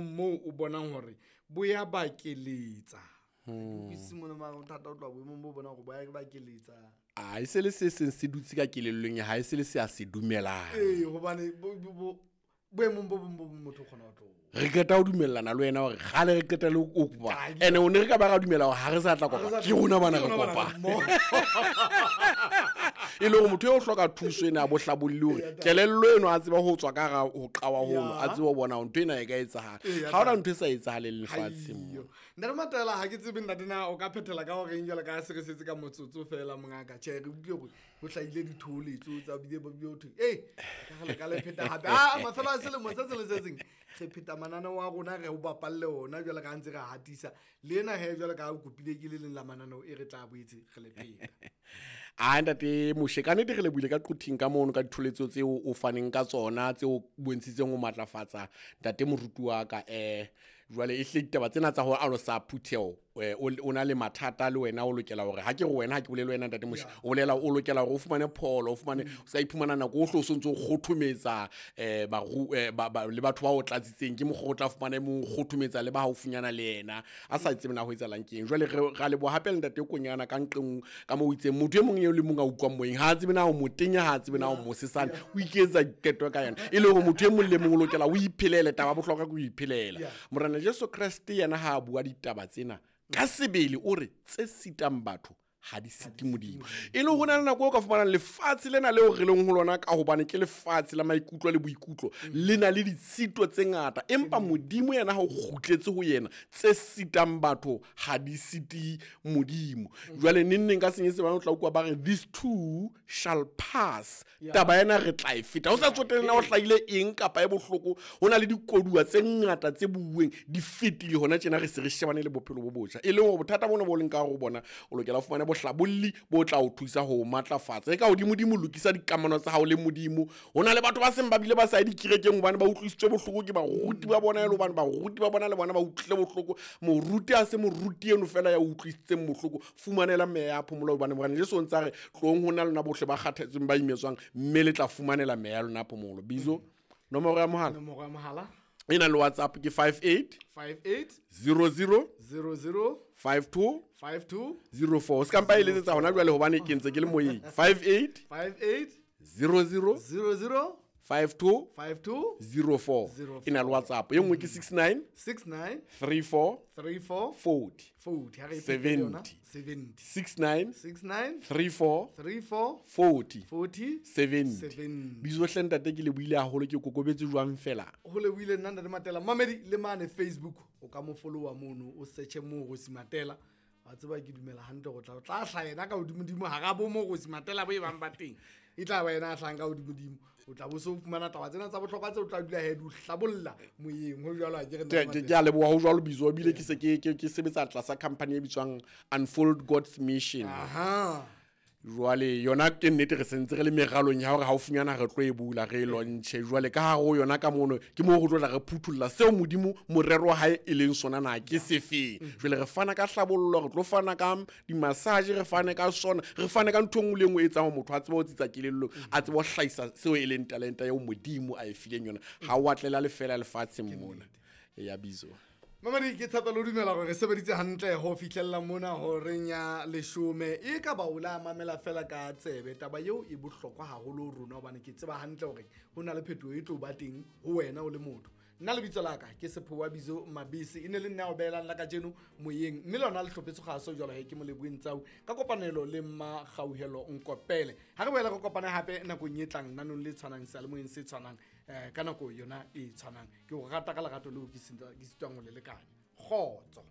Moo o bonang hore bo ya bakeletsa. Ke mona mara bothata o tloha boemong bo bonang hore bo ya bakeletsa. A e se le se seng se dutse ka kelellong ya hae, se le se a se dumelang. Ee, hobane boemong bo bong bo bong motho o kgona ho tloha. Re qeta ho dumellana le wena hore kgale re qeta le ho kopa. Ene o ne re ka ba ra dumela hore ha re sa tla kopa. Ke rona bana re kopa. E le hore motho eo o hloka thuso ena ya bohlabolli hore kelello eno a tseba ho tswa ka hara ho qawa hono, a tsebe ho bona hore ntho ena e ka etsahala. Ha hona ntho e sa etsahaleng lefatsheng mona. Ntate Matela, ha ke tsebe ntate na o ka phethela ka horeng jwalo ka ha se re setse ka motsotso fela mongaka. Tjhe, re utlwile hore ho hlahile dithoholetso tsa bile ba bile ho thwe, ee, ka re le ka le pheta hape. Ah, mafelo a selemo se seng le se seng re pheta mananeo a rona, re o bapalle ona jwalo ka ha ntse re hatisa. Le ena he jwalo ka ha o kopile ke le leng la mananeo e re tla boetse re le pheta. A ntate Moshe, ka nnete re lebohile ka qothing ka mono ka ditholetso tseo o faneng ka tsona, tseo o bontshitseng ho matlafatsa ntate moruti wa ka. Jwale e hle ditaba tsena tsa ho alosa phutheho, o na le mathata le wena, o lokela hore ha ke re wena, ha ke bolele wena ntate Moshe, o bolela o lokela hore o fumane pholo, o fumane, o ska iphumana nako o hlo o sontso o kgothometsa, le batho ba o tlatsitseng, ke mokgwa o tla fumana e mong o kgothometsa le ba haufinyana le yena, a sa tsebe na ho etsahalang ke eng. Jwale ra leboha hape le ntate Konyana ka nqeng ka moo o itseng motho e mong eo le mong a utlwang moyeng, ha a tsebe na o motenya, ha a tsebe na o mosesane, o iketsa qeto ka yena, e le hore motho e mong le mong o lokela o iphelele. Taba bohlokwa ke ho iphelela. Morena Jesu Kreste yena ha a bua ditaba tsena ka sebele o re tse sitang batho ha di site Modimo. E le ho na le nako o ka fumanang lefatshe lena leo re leng ho lona, ka hobane ke lefatshe la maikutlo le boikutlo, le na le ditshito tse ngata, empa Modimo yena ha o kgutletse ho yena, tse sitang batho ha di site Modimo. Jwale neng neng ka Senyesemane o tla utlwa ba re these two shall pass. Taba ena re tla e feta. Ho sa tsotelle na ho hlahile eng kapa e bohloko, ho na le dikoduwa tse ngata tse buuweng di fetile hona tjena, re se re shebane le bophelo bo botjha. E leng hore bothata bona bo leng ka hare ho bona, o lokela ho fumana bohlabolli bo tla o thusa ho matlafatsa. E ka hodimodimo, lokisa dikamano tsa hao le Modimo. Ho na le batho ba seng ba bile ba sa ye dikerekeng hobane ba utlwisitswe bohloko ke baruti ba bona, e le hobane baruti ba bona le bona ba utlwile bohloko. Moruti ha se moruti eno fela ya utlwisitseng bohloko, fumanela meya ya phomolo, hobane Morena Jesu o ntse a re tlong ho na lona bohle ba kgathetseng ba imetswang, mme le tla fumanela meya ya lona phomolo. Bizo, nomoro ya mohala. Nomoro ya mohala. E na le WhatsApp ke 58 58 00 00 52 52 04. O se ka mpa e letsetsa hona jwale hobane ke ntse ke le moyeng. 58 58 00 00 52 52 04. 04. E na le WhatsApp. E nngwe ke 69 69 34 34 40 40. Ha re e phete yona. 70. 70. 69 69 34 34 40 40 70. 70. Bizo hle ntate, ke lebohile haholo, ke kokobetse jwang fela. Ho lebohile nna ntate Matela. Mamedi le mane Facebook o ka mo followa mono, o searche Moorosi Matela. Wa tseba ke dumela hantle go tla hlaha yena ka hodimodimo hara bo Moorosi Matela bo e bang ba teng. E tla ba yena a hlahang ka hodimodimo. O tla bo so fumana taba tsena tsa bohlokwa tseo o tla dula he di o hlabolla moyeng. Ho jwalo ha ke re ntate Ke Matela. a leboha ho jwalo Bizo, ebile ke se ke sebetsa tlasa company e bitswang Unfold God's Mission. Aha. Jwale yona ke nnete re sentse re le meralong ya hore haufinyana re tlo e bula, re e launche. Jwale ka hare ho yona ka mono ke moo re tlo tla re phuthulla seo Modimo morero wa hae e leng sona na ke sefeng. Jwale re fana ka hlabollo, re tlo fana ka di-massage, re fane ka sona, re fane ka ntho e nngwe le e nngwe e etsang hore motho a tsebe ho tsitsa kelellong, a tsebe ho hlahisa seo e leng talenta eo Modimo a e fileng yona. Ha o a tlela lefela lefatsheng mona. Ya Bizo. Mamedi, ke tshepa le ho dumela hore re sebeditse hantle ho fihlella mona horeng ya leshome. E ka ba o la mamela fela ka tsebe, taba eo e bohlokwa haholo ho rona, hobane ke tseba hantle hore ho na le phetoho e tlo ba teng ho wena o le motho. Nna lebitso la ka ke Sephowa Bizo Mabese, e ne le nna o behelang la kajeno moyeng, mme lona le hlophetse kgaso jwalo he ke Moleboheng Tsau ka kopanelo le Mmakgauhelo Nkopele. Ha re boela re kopane hape nakong e tlang nanong le tshwanang, seyalemoyeng se tshwanang, ka nako yona e tshwanang. Ke o rata ka lerato leo ke sitwang ho le lekanya. Kgotso.